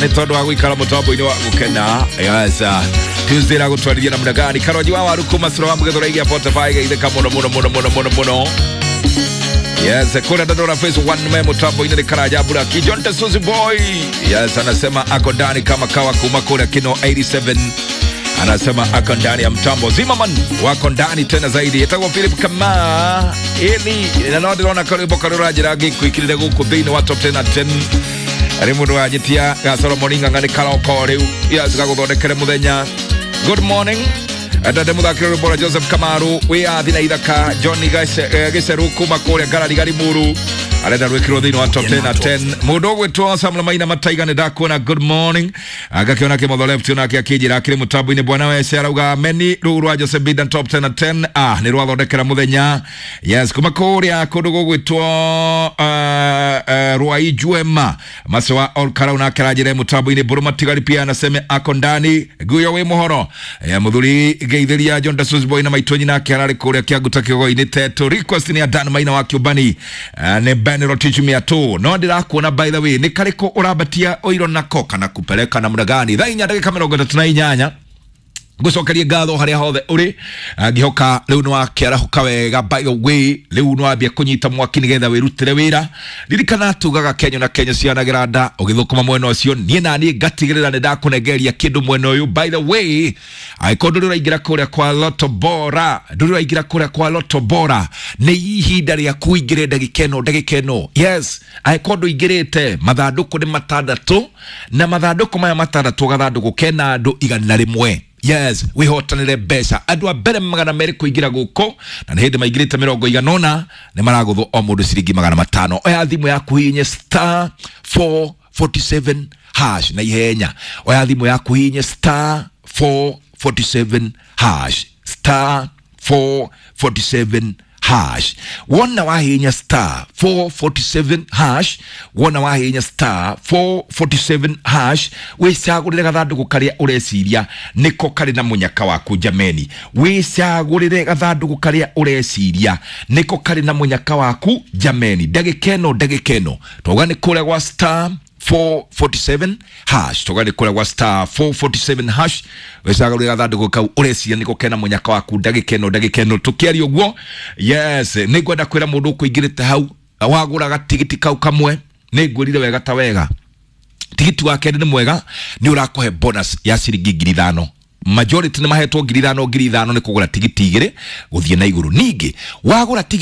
Nĩ tondũ wa gũikara mũtambo-inĩ wa gũkena. Yes, Tuesday ragũtwarithia na muna karoji wa waru kuma sura wa mũgethora igia 45 geithĩka mũno mũno mũno mũno mũno mũno. Yes, kuna dadora face one me mutambo-inĩ nĩ Karanja Buraki John Tesuzi boy. Yes, anasema ako ndani kama kawa kuma kule kino 87, anasema ako ndani ya mtambo. Zimmerman wako ndani tena zaidi. Etagwo Philip Kama ili na no ndĩrona karwĩmbo karĩa ũranjĩra ngĩkwĩkĩrĩre gũkũ thĩinĩ wa top 10 at 10 arĩ mũndũ wanjĩtia ga Solomon Ng'ang'a nĩ karoko rĩu. Yes, gagũthondekere mũthenya. Good morning. Ndande muthakĩri rwĩmbo rwa Joseph Kamaru wĩyathi na ithaka John Gĩceru kuma kũrĩa Ngarari Garimuru arenda rwĩkĩrwo thĩinĩ wa top 10 at 10. Mũndũ ũgwĩtwo Samuel Maina Mataiga nĩ ndakuona, good morning. Ngakĩona kĩmotho left onake akĩnjĩra akĩrĩ mũtambo-inĩ. Bwana wece arauga meni rũu rwa Joseph Bidan top 10 at 10 nĩ rwathondekera mũthenya. Yes, kuma kũrĩa kũndũ gũgwĩtwo Rwai Juema Masewa Olkarau nake aranjĩra mũtambo-inĩ. Mbũrũ Matigari pia anaseme ako ndani nguyo wĩ mũhoro mũthuri geithĩria John Dasus boy na maitũ nyina ake ararĩ kũrĩa Kĩanguta kĩgogo-inĩ teto. Request nĩ ya Dan Maina wa Kĩũmbani, nĩ Ben Rotich Miatu. No ndĩrakuona, by the way, nĩ karĩkũ ũrambatia ũiro nako kana kupeleka namna gani? Thaa 4:38, ngucokerie ngatho haria hothe uri. Ngihoka riu ni wakiarahuka wega. By the way, riu ni wambia kunyita mwaki nigetha wirutire wira. Ririkana tugaga Kenya na Kenya cianagira nda ugithukuma mwena ucio, nie na nie ngatigirira ni ndakunengeria kindu mwena uyu. By the way, angĩkorwo ndũrĩ ũraingĩra kũrĩa kwa Lotto Bora, ndũrĩ ũraingĩra kũrĩa kwa Lotto Bora, nĩ ihinda rĩa kũingĩre ndagĩka ĩno, ndagĩka ĩno. Yes, angĩkorwo ndũingĩrĩte, mathandũkũ nĩ matandatũ, na mathandũkũ maya matandatũ gathandũkũ kena andũ 100. Yes, wihotanire mbeca. Andũ a mbere 200 kũingĩra gũkũ, na nĩ hĩndĩ maingĩrĩte mĩrongo igana ũna, nĩ maragũthwo o mũndũ ciringi 500. Oya thimũ yaku hihinye star 447 hash na ihenya. Oya thimũ yaku hihinye star 447 hash, star 447 hash. Wona wahinya star 447 hash, wona wahinya star 447 hash, wicagũrĩre gathandũkũ karĩa ũreciria nĩko karĩ na mũnyaka waku. Jameni, wicagũrĩre gathandũkũ karĩa ũreciria nĩko karĩ na mũnyaka waku. Jameni, ndagĩka ĩno, ndagĩka ĩno twauga nĩ kũrĩa gwa star 447 hash, toga nĩ kũrĩa gwa star 447 hash, wĩcagũrĩre gathandũkũ kau ũreciria nĩko kena mũnyaka waku. Ndagĩka ĩno, ndagĩka ĩno tũkĩaria ũguo. Yes, nĩ ngwenda kwĩra mũndũ ũkũingĩrĩte hau wagũra gatigiti kau kamwe, nĩ ngwĩrire wega ta wega, tigiti wa kerĩ nĩ mwega, nĩ ũrakũhe bonus ya ciringi 5,000. Majority nĩ mahetwo 5,000 5,000 nĩ kũgũra tigiti igĩrĩ gũthiĩ na igũrũ. Ningĩ wagũra tigiti